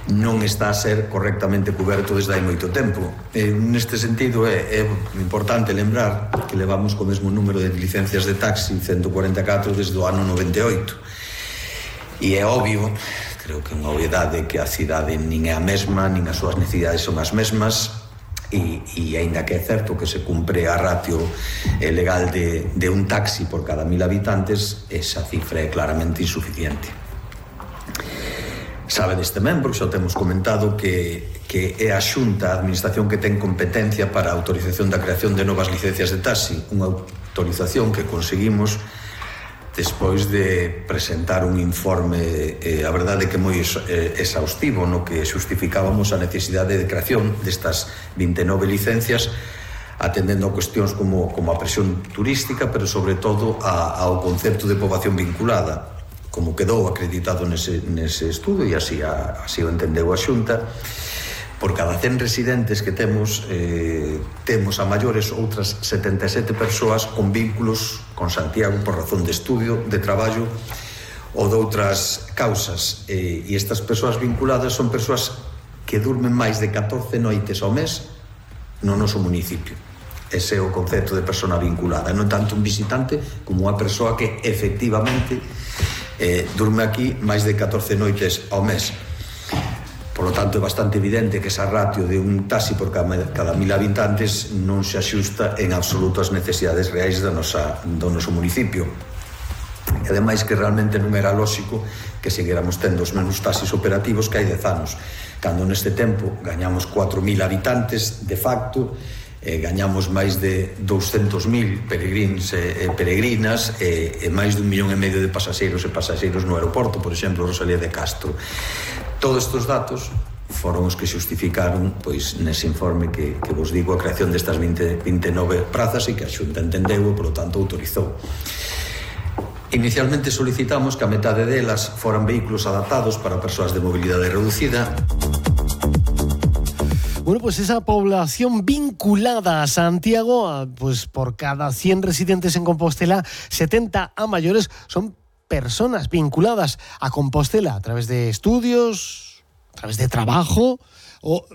non está a ser correctamente coberto desde hai moito tempo. Neste sentido é importante lembrar que levamos co mesmo número de licencias de taxi, 144 desde o ano 98, e é obvio, creo que é unha obviedade, que a cidade nin é a mesma, nin as súas necesidades son as mesmas, e aínda que é certo que se cumpre a ratio legal de un taxi por cada 1000 habitantes, esa cifra é claramente insuficiente. Sabedes tamén, porque xa o temos comentado, que é a Xunta, a Administración, que ten competencia para a autorización da creación de novas licencias de taxi, unha autorización que conseguimos despois de presentar un informe, a verdade que moi exhaustivo, no que xustificábamos a necesidade de creación destas 29 licencias, atendendo a cuestións como a presión turística, pero sobre todo ao concepto de poboación vinculada, como quedou acreditado nese estudo, e así o entendeu a Xunta. Por cada 100 residentes que temos a maiores outras 77 persoas con vínculos con Santiago por razón de estudio, de traballo ou de outras causas, e estas persoas vinculadas son persoas que durmen máis de 14 noites ao mes no noso municipio. Ese é o concepto de persona vinculada, non tanto un visitante como unha persoa que efectivamente durme aquí máis de 14 noites ao mes. Por lo tanto, é bastante evidente que esa ratio de un taxi por cada 1000 habitantes non se axusta en absoluto ás necesidades reais do noso municipio. E ademais que realmente non era lóxico que seguéramos tendo os mesmos taxis operativos que hai 10 anos, cando neste tempo gañamos 4000 habitantes de facto, gañamos máis de 200.000 peregrins e peregrinas, e máis de 1,5 millón de pasaxeiros e pasaxeiros no aeroporto, por exemplo, Rosalía de Castro. Todos estes datos foron os que xustificaron, pois, nese informe que vos digo, a creación destas 29 prazas, e que a Xunta entendeu e, polo tanto, autorizou. Inicialmente solicitamos que a metade delas foran vehículos adaptados para persoas de mobilidade reducida. Bueno, pues esa población vinculada a Santiago, pues por cada 100 residentes en Compostela, 70 a mayores son personas vinculadas a Compostela a través de estudios, a través de trabajo o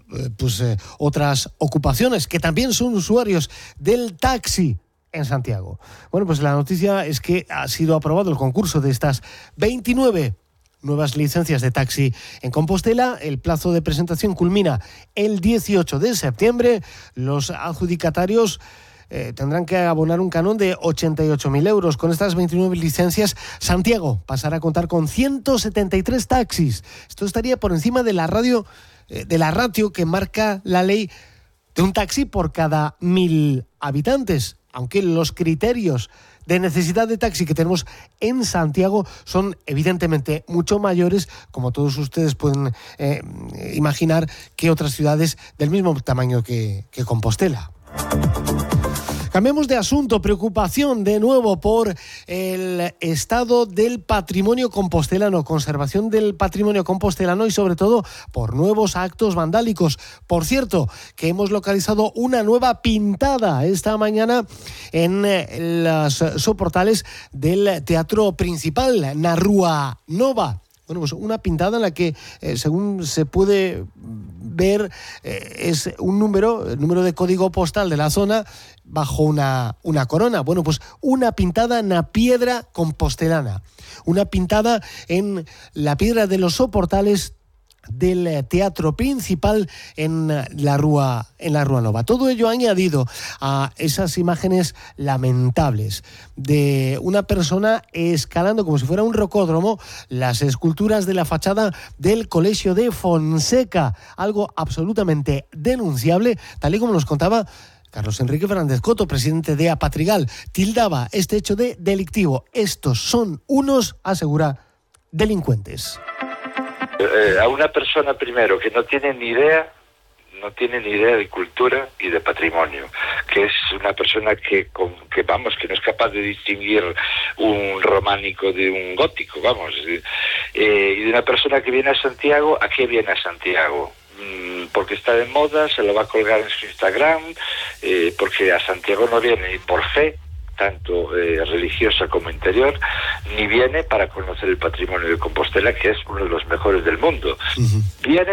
otras ocupaciones, que también son usuarios del taxi en Santiago. Bueno, pues la noticia es que ha sido aprobado el concurso de estas 29 nuevas licencias de taxi en Compostela. El plazo de presentación culmina el 18 de septiembre. Los adjudicatarios tendrán que abonar un canon de 88.000 euros. Con estas 29 licencias, Santiago pasará a contar con 173 taxis. Esto estaría por encima de la ratio que marca la ley de un taxi por cada 1000 habitantes, aunque los criterios de necesidad de taxi que tenemos en Santiago son evidentemente mucho mayores, como todos ustedes pueden imaginar, que otras ciudades del mismo tamaño que Compostela. Cambiemos de asunto. Preocupación de nuevo por el estado del patrimonio compostelano, conservación del patrimonio compostelano y sobre todo por nuevos actos vandálicos. Por cierto, que hemos localizado una nueva pintada esta mañana en los soportales del Teatro Principal, na Rúa Nova. Bueno, pues una pintada en la que, según se puede ver, es un número, el número de código postal de la zona bajo una corona. Bueno, pues una pintada en la piedra compostelana. Una pintada en la piedra de los soportales del Teatro Principal en la Rúa Nova. Todo ello añadido a esas imágenes lamentables de una persona escalando como si fuera un rocódromo las esculturas de la fachada del Colegio de Fonseca, algo absolutamente denunciable, tal y como nos contaba Carlos Enrique Fernández Coto, presidente de Apatrigal. Tildaba este hecho de delictivo. Estos son unos, asegura, delincuentes. A una persona, primero, que no tiene ni idea de cultura y de patrimonio, que es una persona que no es capaz de distinguir un románico de un gótico, y de una persona que viene a Santiago. ¿A qué viene a Santiago? Porque está de moda, se lo va a colgar en su Instagram, porque a Santiago no viene ni por fe, tanto religiosa como interior, ni viene para conocer el patrimonio de Compostela, que es uno de los mejores del mundo. Viene